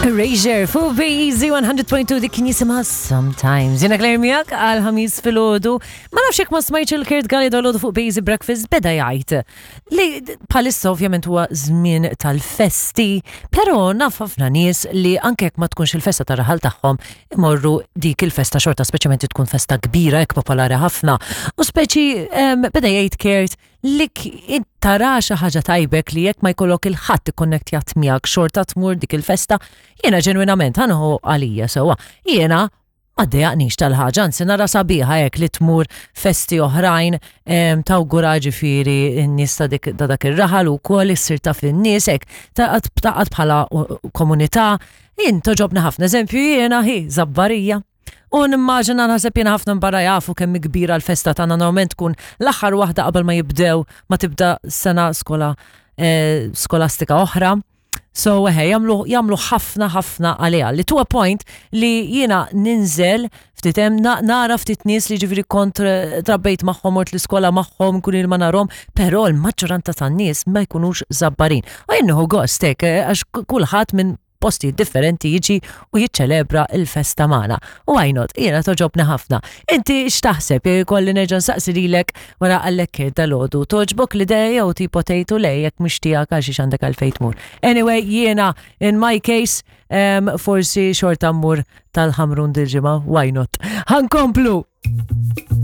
Erasure fuq Easy 100.2 dik kien jisimha Sometimes. Jiena Claire miegħek għal ħamis filgħodu. Ma nafx jekk ma smajtx il-Kurt Galli dolodu fuq Easy Breakfast beda jgħid li bħalissa ovvjament huwa żmien tal-festi, però naf ħafna nies li anke jekk ma tkunx il-festa tar-raħal tagħhom imorru dik il-festa xorta speċjalment tkun festa kbira hekk popolari ħafna. U speċi beda jgħid Kurt li tara xi ħaġa tajbek li jekk ma jkollok il-ħadd ikkonnektjat miegħek xorta tmur dik il-festa, jiena ġenwinament ħanħu għalija sewwa. Jiena ma ddejjaqnix tal-ħaġa, anzi nara sabiħa hekk li tmur festi oħrajn tawgura ġifieri n-nies ta' dik ta' dak ir-raħal ukoll issir taf in-nies hekk taqgħod bħala komunità. Jien toġobni ħafna eżempju jiena hi Żabbarija. U nimmaġina naħseb jiena ħafna barra jafu kemm kbira l-festa tagħna normalment tkun l-aħħar waħda qabel ma jibdew ma tibda sena skola eh, skolastika oħra. So eħe, jagħmlu jagħmlu ħafna ħafna għaliha. Li to a point li jiena ninżel ftit hemm nara ftit nies li ġifieri kont eh, trabbejt magħhom mort l-iskola magħhom kun il ma narhom, però l-maġġoranza tan-nies ma jkunux żabbarin. U jien nieħu gost hekk eh, għax kulħadd minn postijiet differenti jiġi u jiċċelebra l-festa magħna. U why not? Jiena toġobni ħafna. Inti x'taħseb jekk ikolli nerġa' nsaqsi lilek wara għallek dalodu. Toġbok l-idea jew tipo tgħid u lej jekk mhux tiegħek għal xiex għandek għalfejn tmur. Anyway, jiena in my case um, forsi xorta mmur tal-ħamrun dil-ġimgħa, why not? Ħankomplu!